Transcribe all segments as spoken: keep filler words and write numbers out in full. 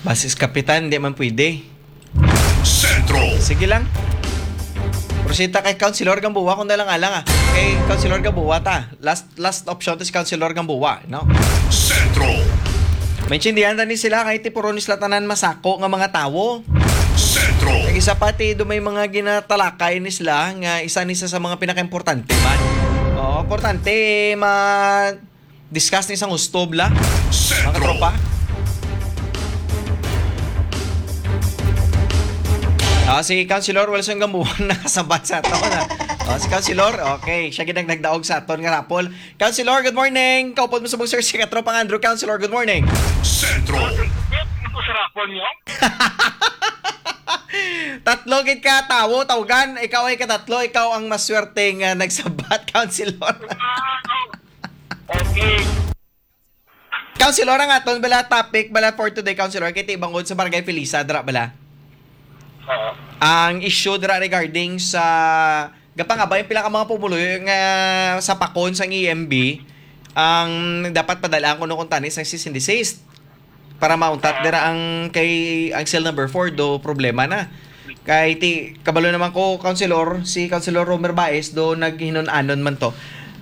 Pasis Kapitan, di man pwede. Sentro. Sige lang. Prosita kay Councilor Gamboa kung dalang alang, ah. Kay Councilor Gamboa ta. Last last option to si Councilor Gamboa, no? Sentro. Maintindihan ta ni sila kay ti puro ni sila tanan masako nga mga tawo. Sentro. Kag isa pa ti do may mga ginatalakay ni sila nga isa ni sa, sa mga pinakaimportante man. Oo, importante ma discuss ni sang husto bala, mga Sentro. Tropa. Ah, si Councilor Wilson Gambuan nakasabat sa aton, ah. Oh, si Councilor, okay, siya gid ang nagdaog sa aton nga raffle. Councilor, good morning. Kaupod mo subong, sir, si Katropang Andrew. Councilor, good morning. Sentro. Ito sa raffle niyo? Tatlo gid ka tawo, tawgan. Ikaw ay katatlo, ikaw ang maswerte nga nagsabat, Councilor. Ah, okay. Councilor, ang aton bala topic bala for today, Councilor, kay ti bangod sa Barangay Felisa dira bala. Oo. Ang issue dira regarding sa gapangabay ang pila ka mga pumuluyo nga sa pakon sang E M B ang dapat padalaan kuno kuntani sang cease and desist para mauntat dira ang kay ang cell number four do problema na. Kay ti kabalo naman ko, Councilor, si Councilor Romer Baez do naghinun-anon man to.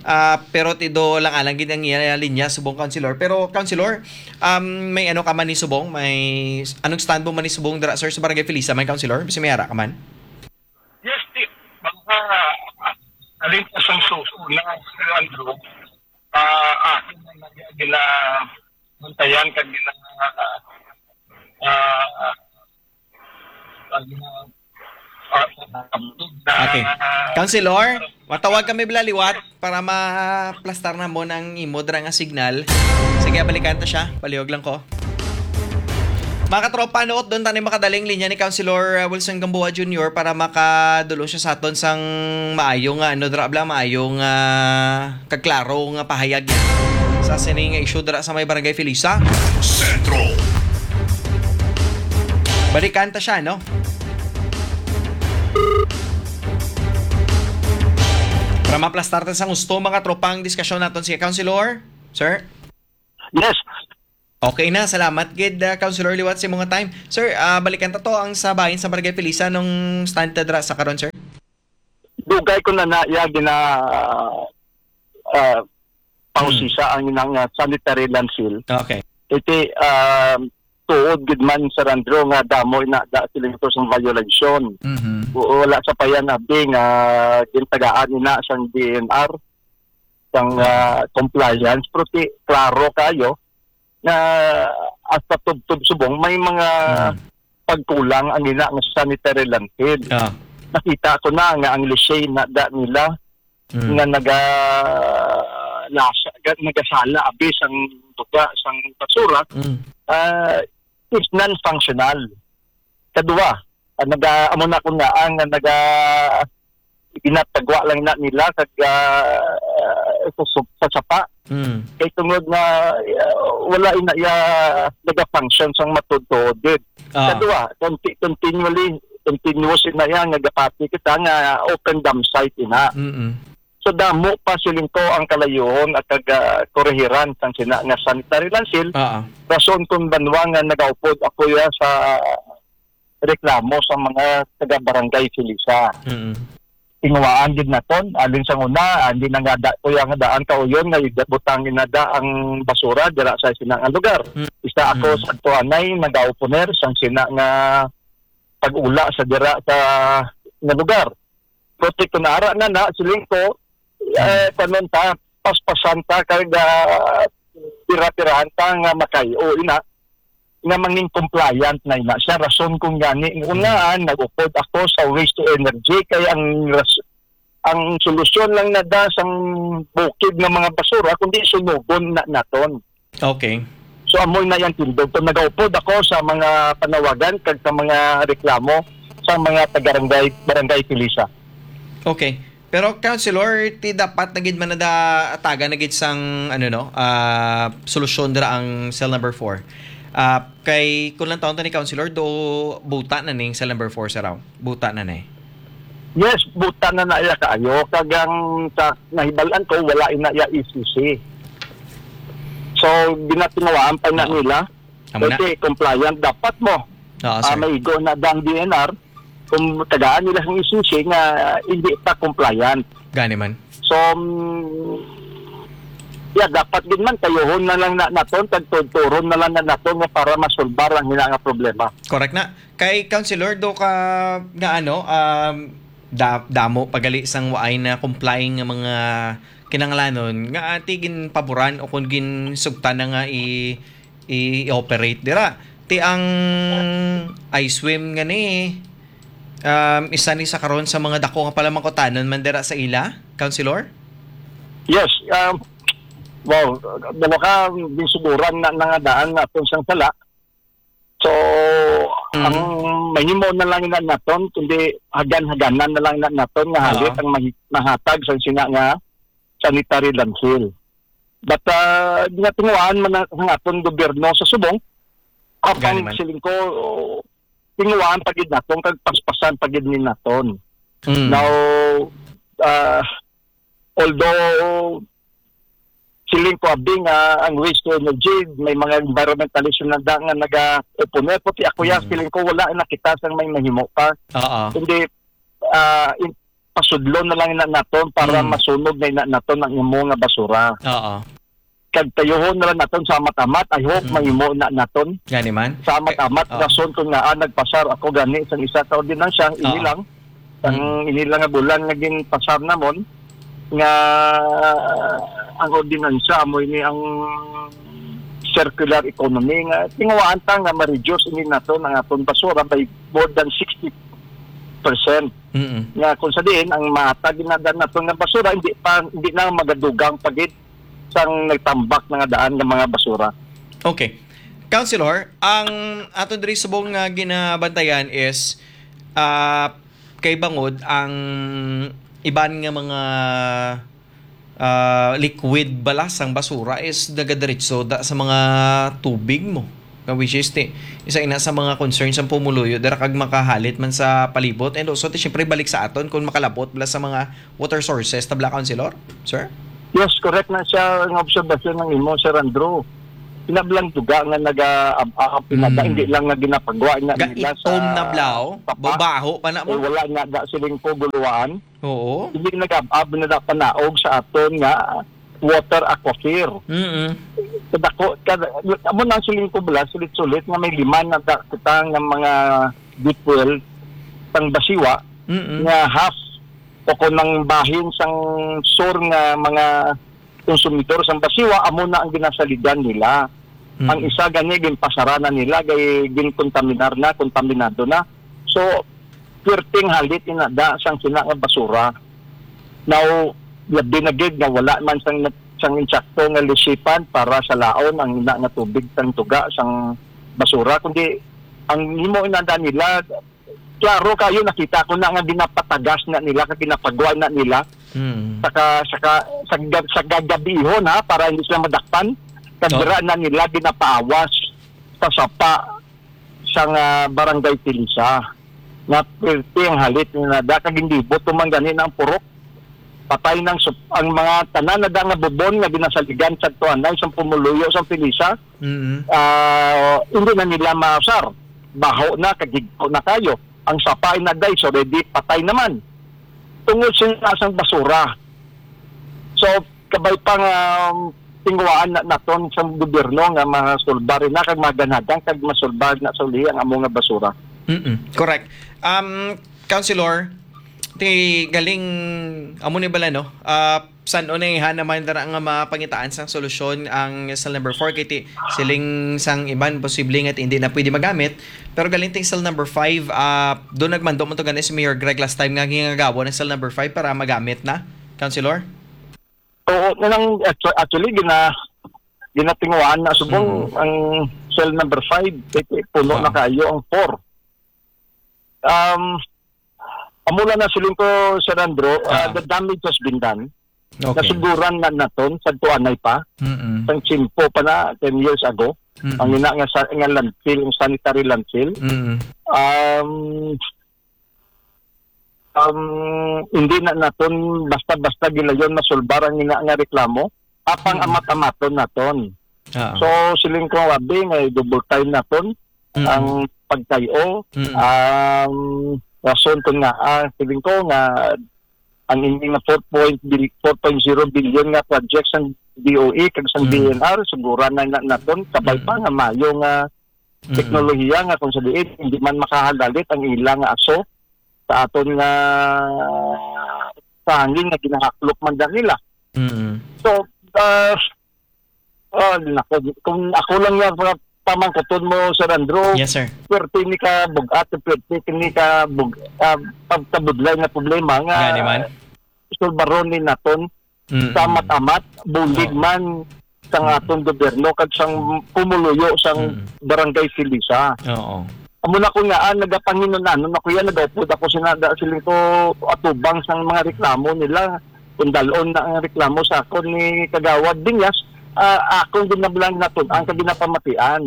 Ah, pero ti do lang alang gid ang iya linya subong, Councilor. Pero, Councilor, um, may ano ka man ni subong, may anong stand mo man ni subong dira, sir, sa Barangay Felisa man, Councilor? Basi may ara ka man? Yes, Steve. Baka, ah, alin pa sang susunod na, Sir Andrew, ah, akin na gina-, bantayan kag gina-, ah, ah, ah, gina-, ah, Okay. Councilor, matawag kami bala liwat para maplastar na mo ng imo dra nga signal. Sige, balikan ta siya. Palihog lang ko. Mga katropa, nuot doon tayo makadaling linya ni Councilor, uh, Wilson Gamboa Junior para makadulong siya sa aton sang maayo nga, ano, dra bala, maayo nga kaklaro nga pahayag niya sa sini nga issue dira sa may Barangay Felisa. Sentro. Balikan ta siya, no? Para maplastar ta sa gusto, mga tropang diskasyon naton si Councilor. Sir? Yes. Okay na, salamat gid, uh, Councilor, liwat sa mga time. Sir, uh, balikan ta to ang sa bahin sa Barangay Felisa nung stand ta dra sa karon, sir. Dugay ko na na iya gina, ah, pausisa ang inang, ah, sanitary landfill. Okay. Iti, ah, tuod gid man, Sir Andrew, nga damo na da sila ito sang violation. Mhm. W-, wala sa payan abi nga gintagaan ina sang D N R sang, ah, compliance, pero ti, klaro kayo nga hasta tubtob subong may mga Mm. pagkulang ang ina nga sanitary landfill. Ah. Nakita ko na nga ang Lishay na da nila Mm. nga naga-, lasa, ga-, nagasala abi sang duga, sang basura, Mm. ah, is non-functional. Kadua, ah, naga-, amo na ko nga, ang naga-, ginatagwa lang na nila kag, ah, sa, sa, sa sapa. Mm. Kay tungod na, ah, wala ina iya naga-function sang matuod-tuod gid. Ah. Kadua, conti-, continually, continuous ina iya nga gapati kita nga open dump site ina. Mm-mm. So, damo pa siling ko ang kalayuhon at kag, ah, korehiran sang sina nga sanitary landfill. Ah, ah. Rason kung banwa nga nagaupod ako ya sa reklamo sa mga taga Barangay Felisa. Mm. Tinguhaan gid naton, alin sang una, ah, hindi na nga da, kuya nga daan kauyon nga ibutang inada ang basura dira sa sina nga lugar. Mm. Isa ako Mm. sa tuanay nagaoponer sang sina nga pag-ula sa dira sa nga lugar. Pero ti kunara na na, siling ko, eh, Mm. kanon ta, paspasan ta, kag, ah, tira-tirahan ta nga makay-o ina, nga mangin compliant na ina siya. Rason kung gani, Mm. unaan, nag-upod ako sa waste to energy, kay ang ras-, ang solusyon lang na da sang bukid nga mga basura, kundi sunugon na naton. Okay. So, amoy na yang tindog. So, nagaupod ako sa mga panawagan kag sa mga reklamo sa mga taga-barangay, Barangay Felisa. Okay. Pero, Councilor, ti dapat na gid man nada atagan na gid sang, ano, no, ah, solusyon dira ang cell number four. Ah, kay, kung lang taon to ni Councilor, do buta na ning cell number four sa raw. Buta na ni. Yes, buta na na iya kaayo. Kag ang sa nahibalan ko, wala ina iya E C C. So, ginatinawaan pa na Oo. nila. Amo na. Kasi compliant dapat mo. Oo, Ah, sir. May igo na dang D N R kung tagaan nila sang E C C nga hindi pa compliant. Gani man. So, mm, yeah, dapat gid man, kayuhon na lang na naton, kag tuturon na lang na naton nga para masulbar ang hina nga problema. Correct na. Kay Councilor, do ka nga ano, um, da-, damo pagali sang waay na complying nga mga kinahanglanon nga ati ginpaboran o kung ginsugtan na nga i-, i-operate dira. Ti ang I swim nga ni, um, isa ni sa karon sa mga dako nga palamangkutanon man dira sa ila, Councilor? Yes, um, wow, dalawa ka ginsuguran na nangadaan na atong sang sala. So, Mm. ang mahimo na lang na naton, kundi hagan-haganan na lang na naton nga Oo. halit ang mahi-, mahatag sa sina nga sanitary landfill. But, ah, nga tinguhaan man ang, ang aton gobyerno sa subong, apang Gani man. siling ko, tinguhaan pa gid naton, kag paspasan pa gid ni naton. Mm. Now, ah, although, siling ko, abi nga ang waste to energy, may mga environmentalist na da-, nga naga-opone, pati ako yan, Mm. siling ko, wala nakita sang may mahimo pa. Oo. Kundi, ah, in-, pasudlon na lang na naton para Mm. masunog na ina naton ang imo nga basura. Oo. Kag tayuhon na lang naton sa amat-amat. I hope Mm. mahimo na naton. Gani man. Sa amat-amat, Oo. rason kung nga, ah, nagpasar ako gani sang isa ka ordinansya, ini Oo. lang. Sang Mm. ini lang nga bulan nga ginpasar namon, nga ang ordinansya amo ini ang circular economy, nga tinguhaan ta nga ma-reduce ini naton ang aton basura by more than sixty percent. Mm-mm. Nga kung sa diin ang mahatag na daan naton nga basura, hindi pa, hindi na magadugang pa gid sang nagtambak na nga daan nga mga basura. Okay. Councilor, ang aton diri subong nga ginabantayan is, ah, kay bangod ang iban nga mga, ah, liquid bala sang basura is nagadiretso da sa mga tubig mo. Nga which is ti-, isa ina sa mga concerns sang pumuluyo dira kag makahalit man sa palibot. And also, ti, syempre, balik sa aton kung makalabot bala sa mga water sources, tabla, Councilor? Sir? Yes, correct na siya ang obserbasyon ng imo, Sir Andrew. Pinablang duga nga naga-, ab-, ab-, pinada-, Mm. hindi lang nga ginapagwa na Ga nila sa itom na blaw, sapa. Babaho pa na mo. Eh, wala nga da siling ko guluwaan. Oo. Hindi nag-ab-, ab na da panaog sa aton nga water aquifer. Mm-mm. Kadako, kad-, amo na siling ko bala, sulit-sulit nga may lima na da kita nga mga deep well sang Basiwa Mm-mm. nga half o kung ang bahin sang sur nga mga konsumidor sang Basiwa, amo na ang ginasaligan nila. Mm. Ang isa gani, ginpasara na nila, kay ginkontaminar na, kontaminado na. So, pirting halit inada sang sina nga basura. Now, labi na gid nga wala man sang, sang insakto nga lisipan para sa laon ang ina nga tubig sang tuga sang basura, kundi ang himo inada nila, klaro kayo, nakita ko na nga ginapatagas na nila, kag ginapagwa na nila. Mm. Saka, saka, sa gab-, sa gagabihon, ha, para hindi sila madakpan, kag Oh. dira na nila ginapaawas sa sapa sa nga Barangay Tilisa. Nga pirti ang halit ni nada, kag hindi buto man gani na ang purok. Patay nang sup-, ang mga tanan na da nga bubon nga ginasaligan sa tuanay, sa pumuluyo, sa Tilisa, Mm. ah, hindi na nila mausar. Baho na, kagigko na kayo. Ang sapa ay na, guys, already patay naman. Tungod sa nasang basura. So, kabay pa nga, um, tinguhaan na naton sa gobyerno nga masulbar na kag maganhagan kag masulbar na sa uli ang amo nga basura. Mm-mm. Correct. Um, Councilor, ti galing amo ni bala, no? Ah, san-o na iha naman dara nga mapangitaan sang solusyon ang cell number four, kay ti siling sang iban posible nga ti hindi na pwede magamit, pero galing ting cell number five, ah, do nagmando mo to gani si Mayor Greg last time nga gingagawa ng cell number five para magamit na, Councilor? Oo, na lang, actu-, actually, gina-, ginatinguhaan na subong Mm. ang cell number five, kay, kay puno Ah. na kayo ang four. Um, amo lang na siling ko, Sir Andrew, uh, Ah. the damage has been done. Okay. Nasuguran na naton sa tuanay pa. Mm-mm. Sang tiyempo pa na, ten years ago. Mm-mm. Ang ina nga sa, nga landfill, ang sanitary landfill. Mm-mm. Um, um, hindi na naton basta-basta gilayon masulbar ang ina nga reklamo. Apang Mm. amat-amaton naton. Oo. So, siling ko, abi, may double time naton Mm. ang pagkay-o. Mm. Ang rason ko nga, ah, siling ko nga ang ini nga four point bil-, four point zero billion nga project sang D O E kag sang Mm. D E N R, sugura na, na naton, kabay Mm. pa nga mayo nga Mm. teknolohiya nga kung sa diin, hindi man makahagalit ang ila nga aso sa aton nga, sa hangin nga ginahaklop man dyan nila. Mm. So, ah, ah, nako, kung ako lang nga mga pamangkuton mo, Sir Andrew, Yes, sir. Swerte ni ka bugat, swerte ni ka bug-, ah, pagkabudlay nga problema nga Gani man. Sulbaron ni naton Mm. sa amat-amat, bulig Oo. man sang Mm. aton gobyerno kag sang pumuluyo sang Mm. Barangay Silisa. Oo. Amo na ko nga, ah, nagapanginon-anon ako yan, nagaupod ako sina, da, siling ko, atubang sang mga reklamo nila. Kung dalon na ang reklamo sa akon ni Kagawad Dinyas, ah, akong ginablang naton ang kaginapamatian.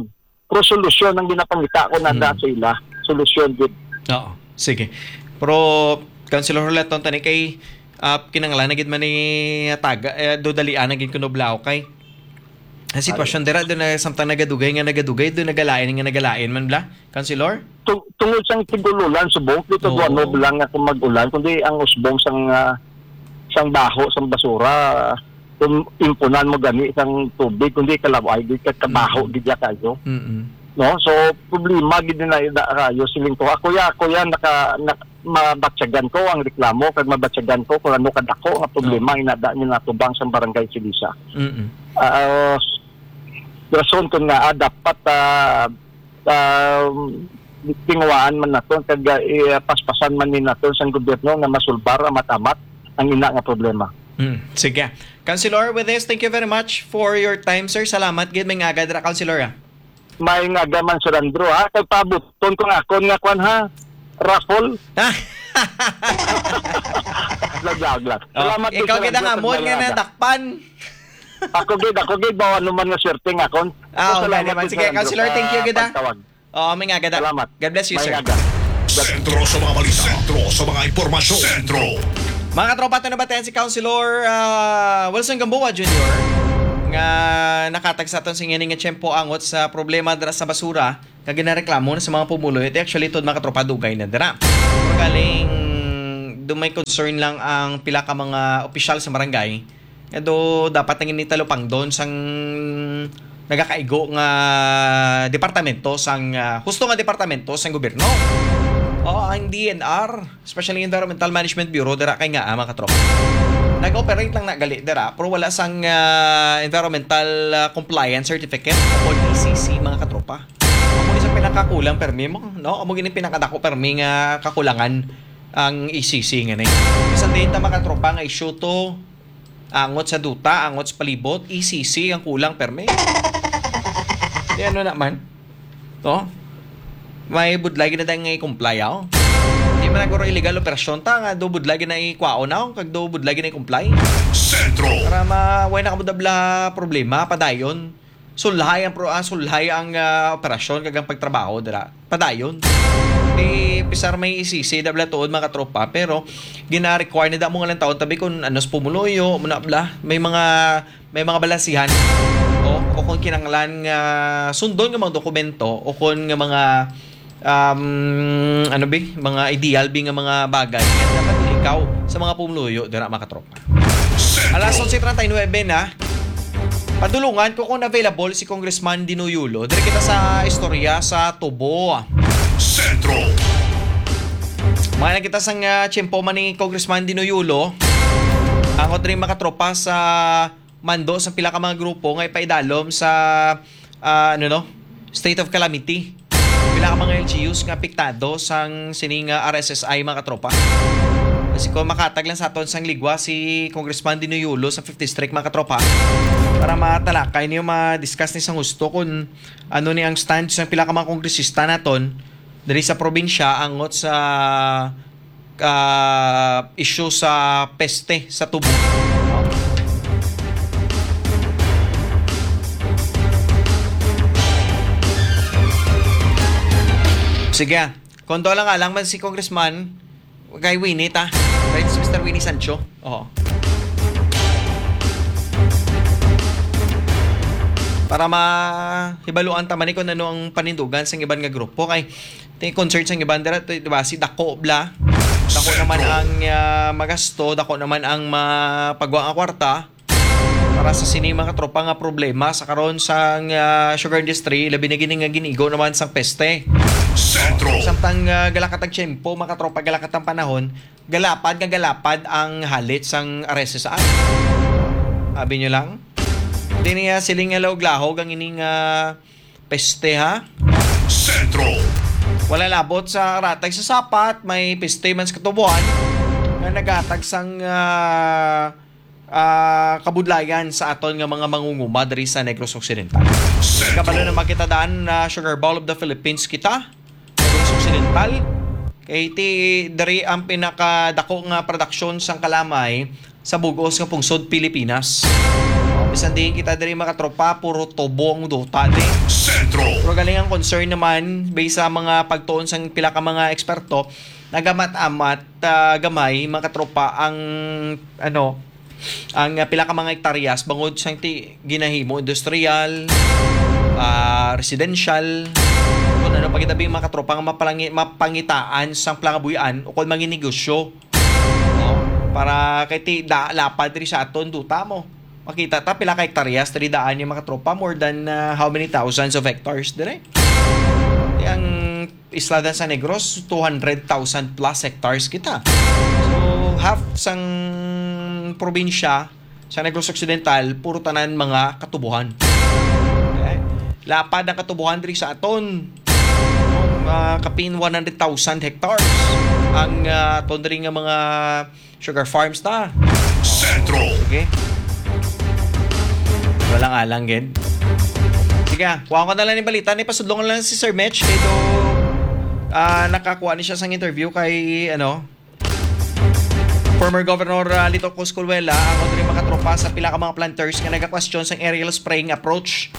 Pero solusyon ang ginapangita ko na Mm. da sa ila. Solusyon gid. Oo. Sige. Pero, Councilor Hulaton, tani kay, ah, kinahanglan na gid man ni taga, eh, dudalian na gid kuno bla, okay? Ang sitwasyon dira, doon na samtang nagadugay nga nagadugay, doon nagalain nga nagalain man bla, Councilor? Tung-, tungod sang tigululan subong, dito Oo. duwa no lang nga kung mag-ulan, kundi ang usbong sang, ah, sang baho, sang basura, kung impunan mo gani sang tubig, kundi kalaway, di ka kabaho, Mm. gid ya kayo. Mm-mm. No? So, problema gid na ida kayo, siling ko. Ako ya, ako ya, naka, nak-, mabatyagan ko ang reklamo, kag mabatyagan ko kung ano kadako nga problema Oo. inada ni natubang sang Barangay Silisa. Mm-mm. Ah, rason ko nga, ah, dapat, ah, ah, tinguhaan man naton, kag, ah, i-, paspasan man ni naton sang gobyerno nga masulbar amat-amat ang ina nga problema. Mm, sige. Councilor, with this, thank you very much for your time, sir. Salamat gid, may ngaga dira, Councilor, ah. May ngaga man, Sir Andrew, ha? Kay pabuton ko nga akon nga kwan, ha? Raffle. Nagyag lang. Oh, Salamat gid, ikaw Sir gid ang Andrew, amon kag nga may ngaga. Nadakpan. Ako gid, ako gid, bawa naman nga swerte nga akon. Ah, Ako, oo, salamat gani man. gid, Sige, Sir Andrew, Councilor, thank you sa gid, ah. pagtawag. Oo, may ngaga da-, Salamat. God bless you, May sir. ngaga. Sentro sa mga balita. Sentro sa mga impormasyon. Sentro. Mga katropa, ito nabatian si Councilor, ah, Wilson Gamboa Junior nga nakatag sa aton sa ingani nga tiyempo angot sa problema dira sa basura nga ginareklamo na sa mga pumuluyo. Ito actually, ito, mga katropa, dugay na dira. Pero galing, do may concern lang ang pila ka mga opisyal sa barangay nga do dapat nang initalupangdon sang nagakaigo nga departamento sang, ah, husto nga departamento sang gobyerno. O ang D N R, especially Environmental Management Bureau, dira kay nga, ah, mga katropa. Nag-operate lang na gali dira, pero wala sang, ah, environmental, ah, compliance certificate o E C C, mga katropa. Amo ni sa pinakakulang permi mo, no? Amo gini pinakadako permi nga kakulangan ang E C C nga ni. Bisan din ta, mga katropa, nga issue to, angot sa duta, angot sa palibot, E C C ang kulang permi. Di ano naman? To? May budlay gid na tayo nga i-comply, aw. Di man naguro illegal operasyon ta, nga do budlay gid na i-kwaon, aw, kag do budlay gid na i-comply. Sentro. Para ma-, way na kamo dabla problema, padayon. Sulhay ang pro-, ah, sulhay ang, ah, operasyon kag ang pagtrabaho dira. Padayon. Di, pisar may E C C, dabla tuod, mga katropa, pero gina-require na damo nga lang taon tabi kung ano sa pumuluyo, muna bla. May mga, may mga balansihan. O, o kung kinanglan nga sundon nga mga dokumento, o kung nga mga, um, ano bi, mga ideal bi nga mga bagay nga dapat ilikaw sa mga pumuluyo dira, mga katropa. Sentro. Alas onse treinta y nueve na. Padulungan ko kung available si Congressman Dino Yulo. Diri kita sa istorya sa Tubo. Sentro. Mga nakita sang, ah, tiyempo man ni Congressman Dino Yulo. Angot rin makatropa sa mando sa pila ka mga grupo nga ipaidalom sa, ah, ano, no? State of calamity. Pila ka mga L G Us nga apektado sang sining, ah, R S S I, mga katropa. Kasi kung makatag lang sa aton sang ligwa si Congressman Dino Yulo sa fifth District, mga katropa, para matalakay niyo, ma-discuss ni sang husto kung ano ni ang stand sang pila ka mga kongresista naton diri sa probinsya angot sa, ah, issue sa peste sa Tubo. Sige, ah. Kung doon lang alang man si Congressman, kay Winnie, ta? Kay Mister Winnie Sancho. Oo. para mahibaluan ta man ni kung ano ang panindugan sang iban nga grupo. Kay ti concern sang iban dira, ti, di ba, si dako bla. Dako naman ang, ah, magasto, dako naman ang mapagwa nga kwarta para sa sini mga tropa nga problema sa karon sang, ah, sugar industry, labi na gini nga ginigo naman sang peste. Sentro. Samtang, ah, galakat ang tiyempo, mga tropa, galakat ang panahon, galapad nga galapad ang halit sang R S S I. Abi nyo lang? Di niya siling nga lahog-lahog ang ining, ah, peste, ha? Sentro. Wala labot sa ratag sa sapat, may peste man sa katubuan nga naghatag sang, ah, ah, kabudlayan sa aton nga mga mangunguma diri sa Negros Occidental. Sentro. Kabalo na makita daan na sugar bowl of the Philippines kita. Negros Occidental. Kay ti diri ang pinakadako nga produksyon sang kalamay sa bug-os nga pungsod Pilipinas. O, bisan diin kita diri, mga tropa, puro tubo ang duta di. Sentro. Pero galing ang concern naman, based sa mga pagtuon sang pila ka mga eksperto, nagamat-amat, ah, gamay, mga tropa, ang, ano, ang, ah, pila ka mga hektaryas bangod sang ti ginahimo industrial, ah, residential, kung ano pa gitabi, mga katropa, nga mapalangi-, mapangitaan sang palangabuy-an o kon manginegosyo. No? Para kay ti da, lapad diri sa aton duta mo. Makita ta pila ka hektaryas diri daan yung mga tropa, more than, ah, how many thousands of hectares dire? Ang isla sa Negros, two hundred thousand plus hectares kita. So, half sang probinsya sa Negros Occidental, puro tanan mga katubuhan. Okay? Lapad ang katubuhan diri sa aton. No? Mga kapin one hundred thousand hectares ang, ah, aton diri nga mga sugar farms ta. Sentro. Sige. Walang alang, gid. Sige, ah, kuha ko na lang yung balita. Ni pasudlong lang si Sir Mitch. Kay do, ah, nakakuha ni siya sang interview kay, ano, former Governor, ah, Lito Cosculuela, ang diri mga tropa sa pila ka mga planters nga nagakwestiyon sang aerial spraying approach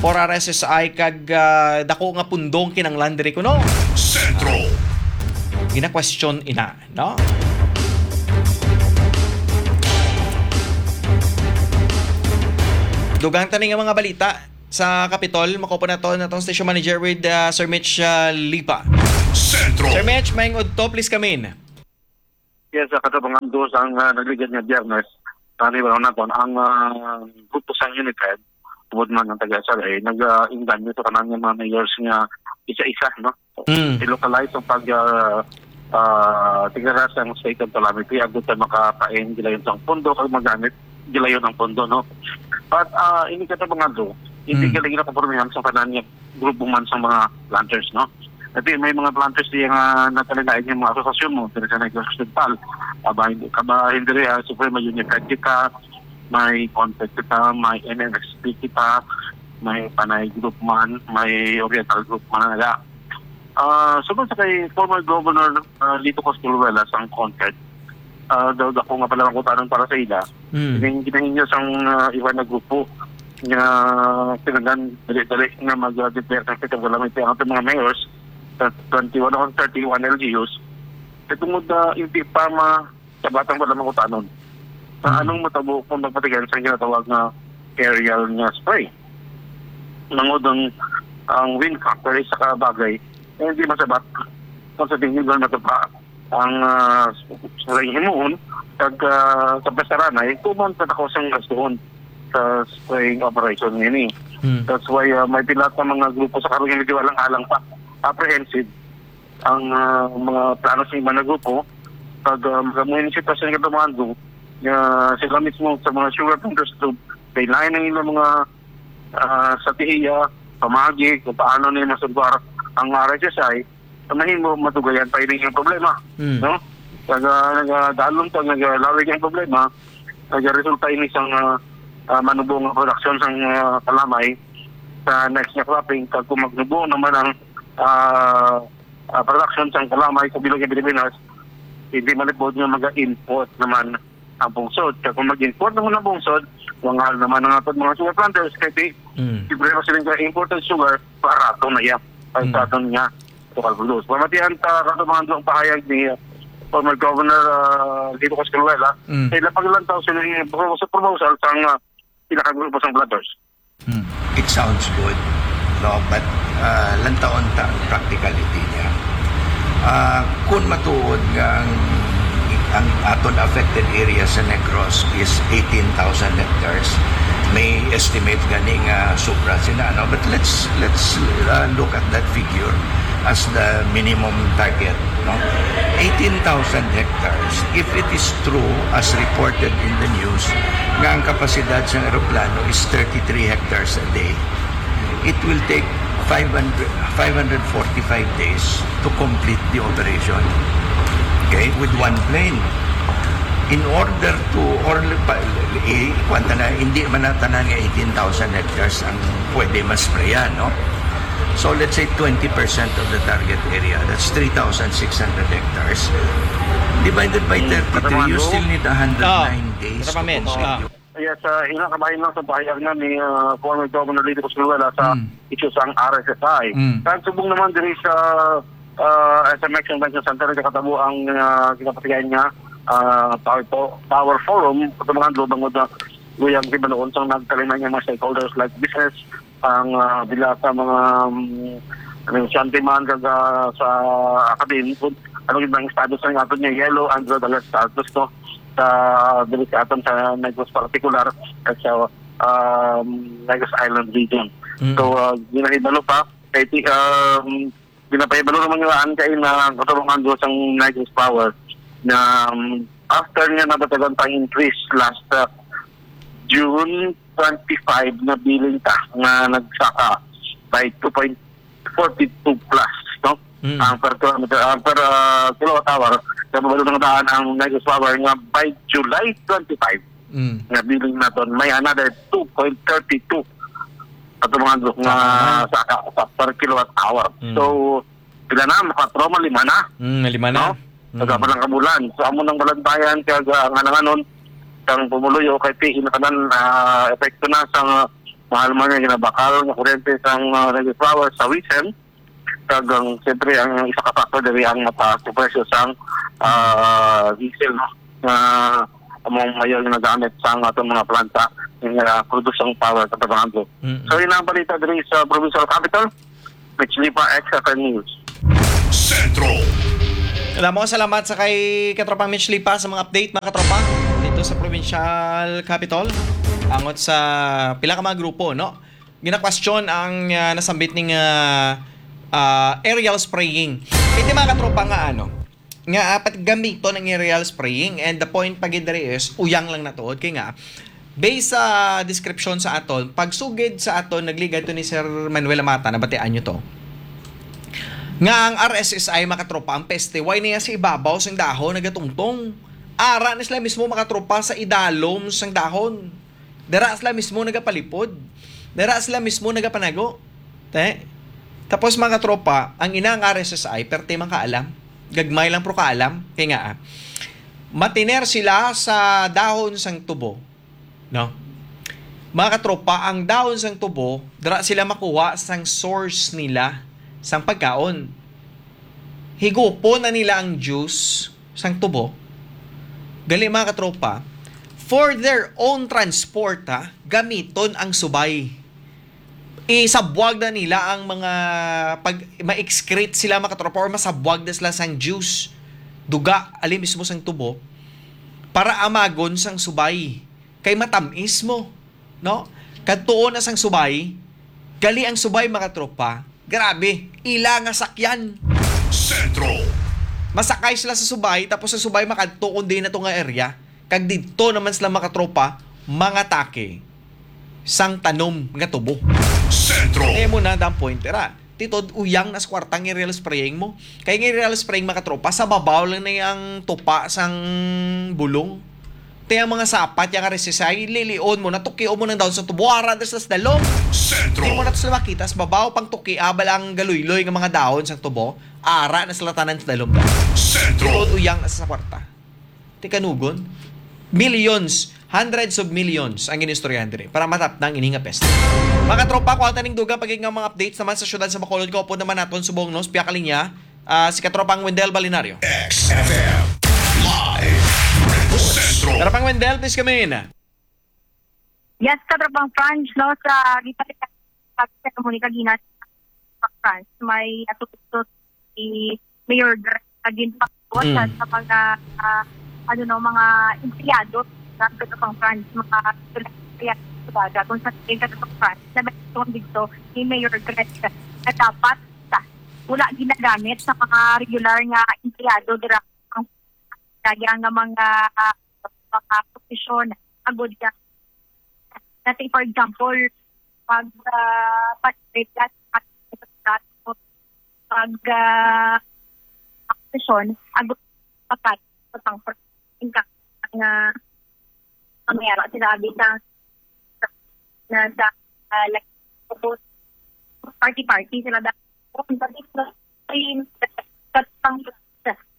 for R S S I kag, ah, dako nga pundong kinanglan diri kuno. Sentro. Gina-question ina, no? Dugang tani nga mga balita sa Kapitol, makuha naton atong station manager with, ah, Sir Mitch, ah, Lipa. Sentro. Sir Mitch, maayong udto, please come in. Yes, sa katabangan dos ang, ah, nagligad nga Biyernes, tani ba naton ang, ah, grupo sa Unified, tungod man ang taga S R A, nag, ah, inganyo sa kanan nga mga mayors nga isa-isa, no? Mm. I-localize ang pag, ah, ah, tigaras ang state of calamity, agud sa makapain gilayon sang pondo, kag magamit gilayon ang pondo, no? But, ah, ini katabangan do, hindi Mm. galing na kompromihan sa kanan nga grupo man sa mga planters, no? Kasi may mga planters diya nga nagkalain yung mga asosasyon mo, pero sa Negros Occidental, kabahin, kabahin diri, ah, Suprema Unified kita, may Contact kita, may N M X P kita, may Panay Group man, may Oriental Group man, nga. Ah, sugod sa kay former Governor, ah, Lito Cosculuela sang Contact, ah, daw ako nga pala ang kutanan para sa ila. Mm. Ining ginahinyo sang, ah, iba na grupo nga kinahanglan dali-dali nga mag-, ah, declare sa state of calamity ang ating mga mayors sa twenty-one o thirty-one L G Us. Kay tungod na hindi pa ma-, sa batang wala mangutanon. Sa Mm. anong matabo kung magpatigan sa ginatawag nga aerial nga spray? Tungod ang, ang wind factor ay saka bagay na hindi masabat kung sa tingin lang natupa ang, ah, sa himuon, kag, ah, sa pasaranay, tuman sa takos ang gastuhon sa spraying operation nini. Hmm. That's why, ah, may pila ka mga grupo sa karon nga medyo alang-alang pa, apprehensive ang, ah, mga plano sa iba nga grupo. Pag, ah, mga, mga sitwasyon nga tumando, nga sila mismo sa mga sugar planters group, kay lain ang ilang mga, ah, strategiya, pamagi kung paano nila masulbar ang R S S I, sa mahimo, madugayan pa ini yung problema, Hmm. no? Naga-, nagadalom pa, nagalawig ang problema, nagaresulta ini sang, ah, ah, manubo nga production sang, ah, kalamay sa next nga cropping. Kag kung magnubo naman ang, ah, ah, production sang kalamay sa bilog nga Pilipinas, hindi malipod nga maga-import naman ang pungsod. Kag kung mag-import naman ang pungsod, mangal naman ang aton mga sugar planters, kay di, Mm. libre na sila sa imported sugar, barato na iya ang Mm. sa aton nga local produce. Pamatian ta kato mga duwang pahayag ni, uh, former Governor, uh, Lito Cosculuela, Mm. sa ila paglantaw sa ilang proposal, proposal sang, uh, pinakagrupo sang planters. Hmm. It sounds good, no? But, ah, lantawon ta ang practicality niya. Ah, kung matuod nga ang, ang aton affected area sa Negros is eighteen thousand hectares, may estimate gani nga sobra sila, no? But let's, let's, ah, look at that figure as the minimum target, no? Eighteen thousand hectares, if it is true as reported in the news, nga ang kapasidad sang eroplano is thirty-three hectares a day, it will take five hundred, five hundred forty-five days to complete the operation. Okay? With one plane. In order to, or pa, eh, kwan ta na, hindi man na tanan nga eighteen thousand hectares ang pwede masprayan, no? So let's say twenty percent of the target area, that's three thousand six hundred hectares. Divided by Hmm, thirty-three, you Katraman, still need a hundred nine Ah, days to Katraman, complete ah. your Yes, uh, ina kabahin lang sa pahayag na ni, uh, former Governor Lito Cosluela sa Hmm. issue sang R S S I. Hmm. Kag subong naman diri sa, uh, S M X Convention Center, nakatabo ang, uh, ginapatigayan nga, uh, power, po- power forum, sa mga handlo bangod na luyag di ba noon sang nagtalima niya mga stakeholders like business, ang, ah, bila sa mga, um, negosyante man kag, ah, sa academic, ano gid ang status sa aton nga yellow and red alert status, no? Sa, dili sa aton sa Negros partikular at sa, um, Negros Island region. Mm. So, ah, ginahibalo pa kay ti-, um, ginapahibalo naman nga ang kay na katarungan do sang Negros Power na, um, after nga nabatagan pang increase last, ah, June twenty-five na billing ta nga nagsaka by two point forty-two plus, no? Mm. Ang per kilometer, ang per, ah, kilowatt hour, nababalo ng daan ang Negros Power nga by July twenty-five Mm. na billing naton may another two point thirty-two ato mga handlo nga Saka naman. saka sa per kilowatt hour. Mm. So, pila na, maka-, lima na. Mm, lima na. No? Mm. Sa dapat ng kabulan. So, amo nang balantayan kag, ah, nga nanganon sang pumuluyo kay ti inakanan, ah, epekto na sang, ah, mahal man nga ginabakal nga kuryente sang, ah, Negros Power sa Wisen. Kag ang, siyempre, ang isa ka factor diri ang mataas nga presyo sang, ah, diesel, no? Nga among mayor nga nagamit sang aton mga planta nga produce ang power sa Tabangan. Mm. So, yun ang balita diri sa provincial capital. Mitch Lipa, X F M News. Sentro. Damo nga salamat sa kay Katropang Mitch Lipa sa mga update, mga katropa, dito sa provincial capital. Angot sa pila ka mga grupo, no? Ginakwestiyon ang, ah, nasambit ning, ah, ah, aerial spraying. Hindi, mga katropa, nga ano, nga apat gamiton ang aerial spraying, and the point pa gid diri is uyang lang natuod kay nga based sa description sa aton, pagsugid sa aton, nagligad to ni Sir Manuel Amata, nabatian nyo to, nga ang R S S I, mga katropa, ang peste, way niya sa ibabaw sang dahon nagatungtong. Ara na sila mismo, mga katropa, sa idalom sang dahon. Dira sila mismo nagapalipod. Dira sila mismo nagapanago. Te? Tapos, mga katropa, ang ina nga R S S I, perte man kaalam. Gagmay lang, pero kaalam. Kaya nga, ah, matiner sila sa dahon sang tubo. No? Mga katropa, ang dahon sang tubo, dira sila makuha sang source nila sang pagkaon. Higupon na nila ang juice sang tubo. Gali, mga katropa, for their own transport, ha, gamiton ang subay. Isabwag na nila ang mga pag ma-excrete sila, mga katropa, or masabwag na sila sang juice, duga, ali mismo sang tubo, para amagon sang subay. Kay matamis mo, no? Kadtuon na sang subay, gali ang subay, mga tropa. Grabe, ila nga sakyan. Sentro. Masakay sila sa subay, tapos ang subay makadto kundi na to nga area. Kag didto naman sila, mga tropa, mangatake sang tanom nga tubo. Sentro. Kaya mo na, dam point, era. Titod, uyang na sa kwarta ang aerial spraying mo. Kaya nga aerial spraying, mga tropa, sa babaw lang na ang tupa sang bulong. Te, ang mga sapat, yung R S S I, lilion mo, natukion mo ng dahon sa tubo, ara na sa dalom. Sentro. Di mo na to sila makita sa babaw, pang tuki, abal ang galuyloy nga mga dahon sa tubo, ara na sila tanan sa dalom. Sentro. Titod, uyang na sa kwarta. Tikanugon, millions, hundreds of millions ang ginistoryahan diri para matapnang ini nga peste. Mga tropa, kuha ta ning dugang pagig nga mga updates naman sa syudad sa Bacolod. Kaupod naman naton subong, no, sa pihak linya, ah, si Katropang Wendell Balinario. X F M Live Report. Sentro. Katropang Wendell, please come in. Yes, Katropang Franz, no, sa gipalitan sa ceremony kagina sa France, may atutok si Mayor Greg na ginpakita sa, Mm. sa mga, ah, ano, no, mga empleyado sa City of France, mga empleyado sa City of France, na may tugon dito ni Mayor Greg na dapat sa, wala ginagamit sa mga regular nga empleyado dira ang kaya nga mga, ah, mga posisyon. Agod ka. Let's say, for example, pag, ah, pag, pag, ah, posisyon, agod pakat sa pang-, nga, ang mayara sila abi sa, na sa, ah, like, party-party sila da-,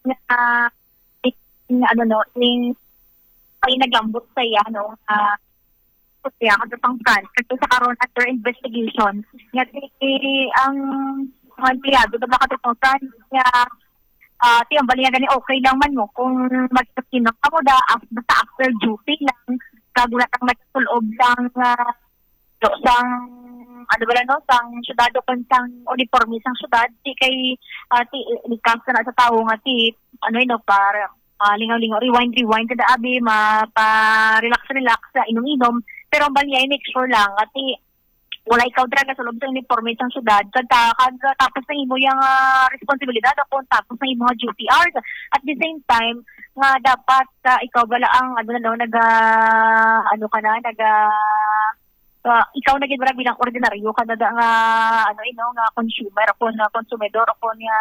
na, na, ano, no, ning, ay naglambot sa iya, no, ah, siya, ano, pang France. Kasi sa karon, under investigation, nga di, ang mga empleyado, diba, ka pang France, nga, ah, ti, ang bali nga gani, okay lang man mo kung magkasino ka mo da, af-, basta after duty lang, kag wala kang nagsulob lang, ah, do, sang, ano bala, no, sang syudad o kon sang uniforme sang syudad, ti kay, ah, ti, likas na sa tawo nga ti, ano, no, para, ah, lingaw-lingaw, rewind, rewind, kada abi, ma-, pa-relax, relax, sa inom-inom. Pero ang bali, i-make sure lang nga ti, wala ikaw dira nasulob sa uniforme sang syudad, kag ta-, kag tapos na imo yang, ah, responsibilidad o kon tapos na imo nga duty hours. At the same time, nga dapat, ah, ikaw bala ang, ano, no, naga, ano ka na, naga, ah, ikaw na gid wala bilang ordinaryo ka na da nga, ano, eh, no, nga consumer o kon, ah, konsumidor o kon nga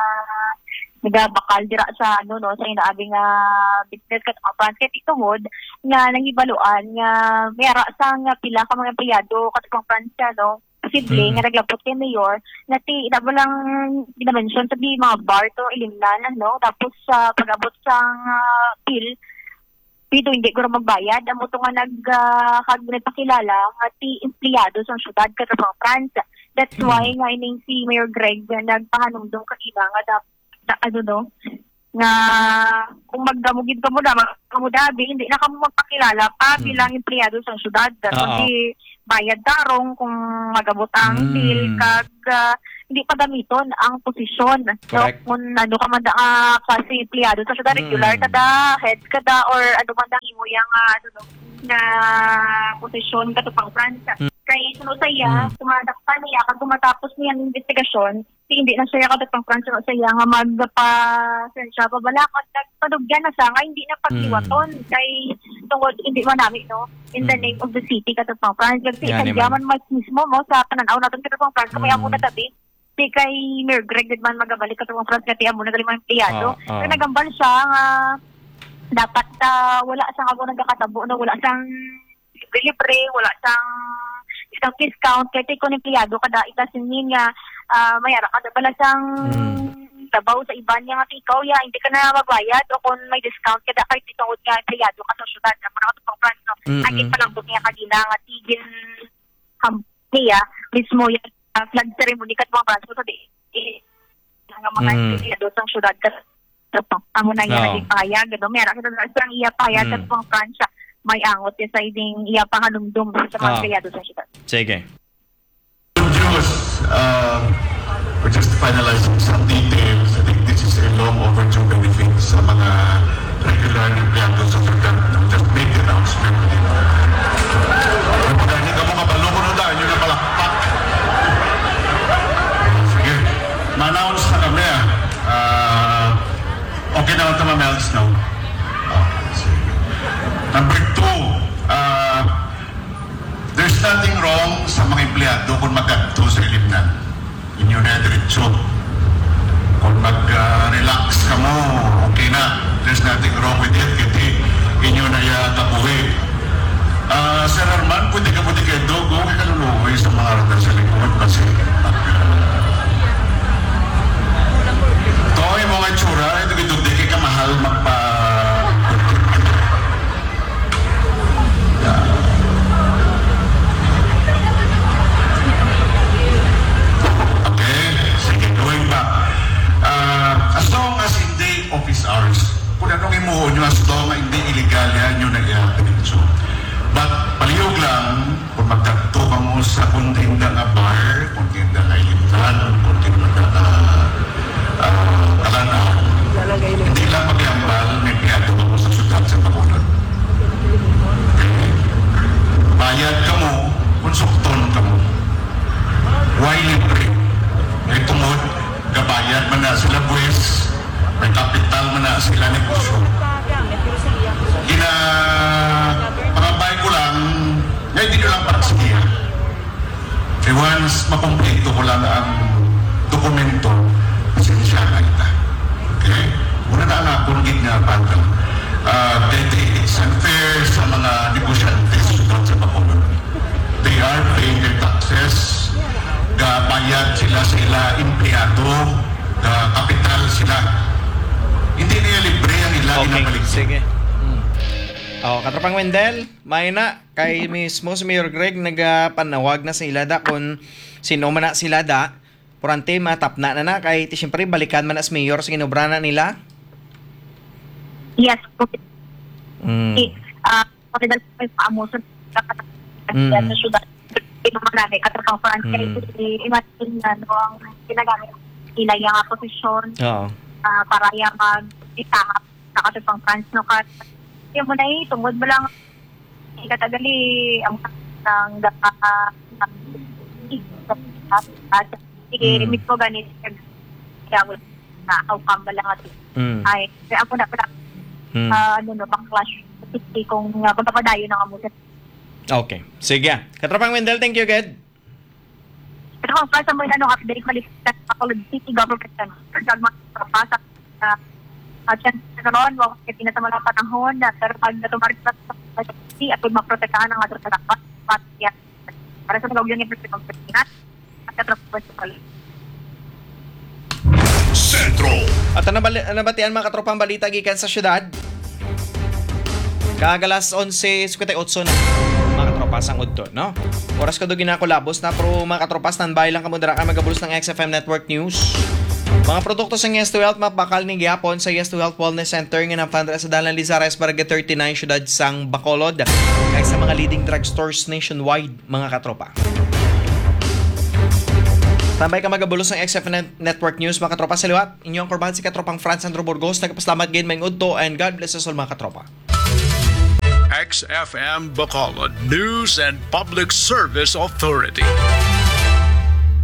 nagabakal dira sa, ano, no, sa inaabing, ah, business kat-, ah, France. Kay tungod nga nahibaluan nga may ara sang pila ka mga empleyado kat-, pang France, no, posible Mm. nga naglabot kay mayor, nga ti, ina mo lang gina-mention sa di mga bar to ilimnan, no? Tapos sa pag-abot sang, ah, bill, pito hindi ko magbayad. Amo to nga nag, ah, kag nagpakilala nga ti empleyado sang syudad, kat-, pang France. That's Mm. why nga ining si Mayor Greg nga nagpahanumdom kanina nga dap-, na, ano, no? Nga kung magdamugid ka mo na, mag-, mo dabi, hindi na kamo magpakilala pa Mm. bilang empleyado sang syudad. Oo. Kundi bayad tarong kung mag-abot ang Mm. bill, kag, ah, hindi pagamiton ang posisyon, no? Correct. Kung ano ka man da, ah, klase empleyado sa syudad, Mm. regular ka da, head ka da, or ano man da imo yang, ah, ano, no, na posisyon ka to pang France. Mm. Kay suno sa iya, Mm. kung madakpan niya, kag kung matapos niya ang investigasyon, si hindi na siya ka to pang France, suno sa iya nga magpa-, sensya pa bala, kag nagpadugyan na siya nga hindi na pagliwaton. Mm. Kay tungod, hindi man nami, no? In the Mm. name of the city, ka to pang France. Kag si Yan, Italia man. man mas mismo mo sa pananaw natin, ka to pang France, kay amo Mm. na tabi. Si kay Mayor Greg gid man magabalik ka to pang France, kay amo na gali mga empleyado. Oo, oo. Kaya nagambal siya nga dapat, ah, wala sa amo nagakatabo na wala sang libre, wala sang isang discount. Kay ti kon empleyado ka da, ita singin nga, ah, may ara ka da pala sang Mm. trabaho sa iban niya nga ikaw, ya, hindi ka na magbayad o kung may discount ka da, kay ti tungod nga empleyado ka sa syudad, amo na ka to pang France, no? Mm-mm. Ang ginpalambot niya kagina nga tigil ham-, niya, mismo yan, ah, flag ceremony ka to pang France, so di, eh, nga mga Mm. empleyado sa syudad ka, amo na niya Oo. naging pahayag, ano, may ara ka da sa iya pahayag Mm. ka to pang France, may angot niya sa ining iya panganumdom sa mga Oo. empleyado sa syudad. Sige. Diyos, uh, we're just finalizing some details. I think this is a long overdue benefit sa mga regular na empleyado sa syudad. Just make the announcement. Ang pagani ka mo kabalo ko na dahil yun ang palakpak. Sige. Ma-announce na kami, ah. Ah, okay na lang tama, Melds, no? Ah, sige. Number two, ah, there's nothing wrong sa mga empleyado kung magadto sa ilimnan. Inyo na diretso. Kung mag, ah, relax ka mo, okay na. There's nothing wrong with it. Kasi inyo na iya kabuhi. Ah, Sir Arman, pwede ka mo di kayo dogo. Kay kaluluoy sa mga radar sa likod. Kasi, ah, to, yung mga itsura, ito gito, di kay kamahal magpa-, sila negosyo. Gina, pangabay ko lang, nga hindi lang para sa iya. Kay once makumpleto ko lang ang dokumento, pasensya na kita. Okay? Una na ang akong gid nga banda. Ah, kay it's unfair sa mga negosyante sa syudad sa Bacolod. They are paying their taxes. Gabayad sila sa ila empleyado. Ga-kapital sila. Hindi niya libre ang ila. Okay, ginabalik. Sige. Hmm. Oh, Katropang Wendell, may na, kay mismo si Mayor Greg nagapanawag na sa ila da kung sino man na sila da. Purante, matapna na na, kay ti siyempre balikan man as mayor sa ginobra na nila. Yes, okay. Mm. Eh, ah, pagkadal sa amo sa Mm. sa syudad, ito man na, Katropang Franz, kay Mm. i-, imagine na, no, ang ginagamit nila yung nga posisyon, Oo. ah, para yung mag-itaha sa Katropang Franz, no, kat-, yung mo na eh, tungod mo lang, ikatagali, ang, ang, ah, sige, Mm. mismo ganit, kaya wala na, how come ba lang ito? Mm. Ay, kaya ako na pala, Mm. ah, ano, no, pang-clash, kung, ah, magpapadayo na nga mo sa Okay. Sige. Katropang Wendell, thank you, good. Ito ang sa mga ano, update, malipat sa Bacolod City Government Center. Sa mga tropa sa, ah, ah, dyan sa karon, wa pa kita sa mga panahon, na, pero pag natumari sa city, at pag maprotektahan ang ato sa dapat, para sa mga ulo niya, at katropa sa Sentro. At ang nabali-, nabatian, mga katropang balita gikan sa syudad. Kag alas onse cincuenta y ocho na, mga katropa, sang udto, no? Oras kadto ginakulabos na, pero mga katropa, standby lang kamo dira kay magabulos ng X F M Network News. Mga produkto sa Yes to Health, mapakal ni gihapon sa Yes to Health Wellness Center nga napanra sa Dalan Lizares, Barangay thirty-nine, Syudad sang Bacolod, kag sa mga leading drugstores nationwide, mga katropa. Tambay ka magabulos ng X F N Network News, mga katropa, sa liwat. Inyo ang korban si katropang Franz Andrew Burgos. Nagpasalamat gid, maayong udto, and God bless us all, mga katropa. X F M Bacolod News and Public Service Authority.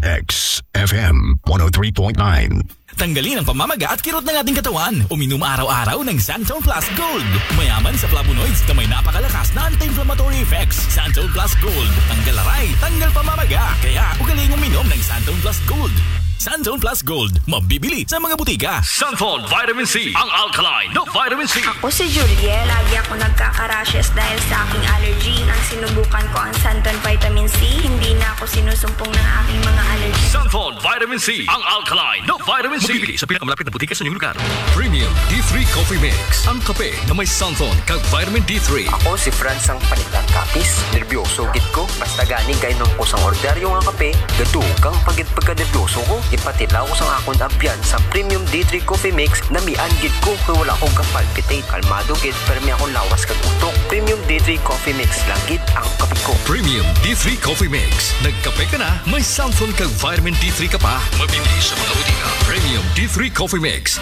X F M one oh three point nine. Tanggalin ang pamamaga at kirot ng ating katawan. Uminom araw-araw ng Santon Plus Gold. Mayaman sa flavonoids na may napakalakas na anti-inflammatory effects. Santon Plus Gold. Tanggal aray, tanggal pamamaga. Kaya ugaling uminom ng Santon Plus Gold. Santon Plus Gold. Mabibili sa mga butika. Santon Vitamin C. Ang alkaline na vitamin C. Ako si Julie. Lagi ako nagkaka-rashes dahil sa aking allergy. Nang sinubukan ko ang Santon Vitamin C, hindi na ako sinusumpong ng aking mga allergy. Santon Vitamin C. Ang alkaline na vitamin C. Mabibili sa pinakamalapit na butika sa inyong lugar. Premium D three Coffee Mix, ang kape na may santon kag vitamin D three. Ako si Franz ang Panitan Kapis. Nerbyoso gid ko. Basta gani kainom ko sang ordinaryo nga kape, gadugay pa gid pagkanerbyoso ko. Ipatilaw ko sang akon abyan sa Premium D three Coffee Mix, namian gid ko kay wala ko ka-palpitate. Kalmado gid, permi akong lawas kag utok. Premium D three Coffee Mix lang gid ang kape ko. Premium D three Coffee Mix. Nagkape ka na, may santon kag vitamin D three ka pa. Mabibili sa mga butika. Premium D three Coffee Mix.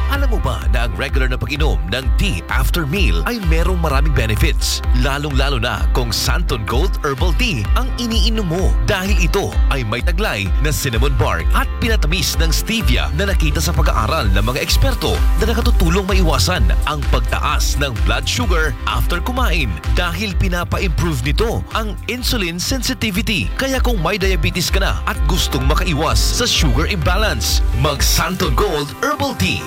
Alam mo ba na ang regular na pag-inom ng tea after meal ay merong maraming benefits, lalong-lalo na kung Santon Gold Herbal Tea ang iniinom mo, dahil ito ay may taglay na cinnamon bark at pinatamis ng stevia na nakita sa pag-aaral ng mga eksperto na nakatutulong maiwasan ang pagtaas ng blood sugar after kumain, dahil pinapa-improve nito ang insulin sensitivity. Kaya kung may diabetes ka na at gustong makaiwas sa sugar imbalance, mag Santon Gold Herbal Tea.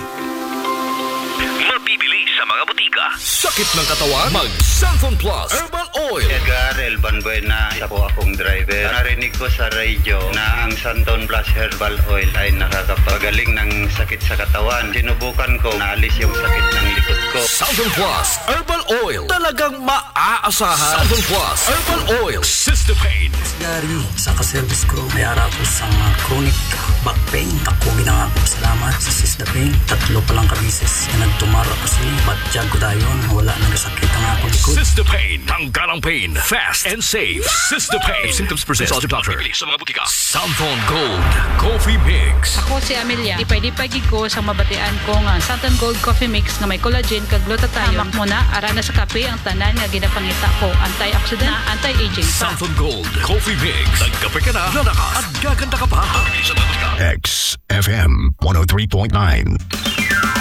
Mabibili sa mga butika. Sakit ng katawan? Mag Santon Plus Herbal Oil. Edgar Elban Buena, isa po akong driver. Narinig ko sa radyo na ang Santon Plus Herbal Oil ay nakakapagaling ng sakit sa katawan. Sinubukan ko, naalis yung sakit ng likod ko. Santon Plus Herbal Oil. Talagang maaasahan. Santon Plus Herbal Oil. Sister Pain. Gary, sa ka-service ko, may ara ko sa mga chronic back pain. Ako ginangako salamat sa Sister Pain. Tatlo pa lang ka beses na nagtumar ako sini. Batyag ko dayon, wala na gasakit ang akong likod. Sister Pain. Tanggal ang pain. Fast and safe. Sister Pain. If symptoms persist, consult your doctor. Mabibili sa mga butika. Santon Gold Coffee Mix. Ako si Amelia. Lipay-lipay gid ko sa mabatian ko nga Santon Gold Coffee Mix nga may collagen kag glutathione. Hamak mo na, ara na sa kape ang tanan nga ginapangita ko. Antioxidant na anti-aging pa. Santon Gold Coffee Mix. Nagkape ka na, lalakas, at gaganda ka pa. Mabibili sa mga butika. X F M one oh three point nine.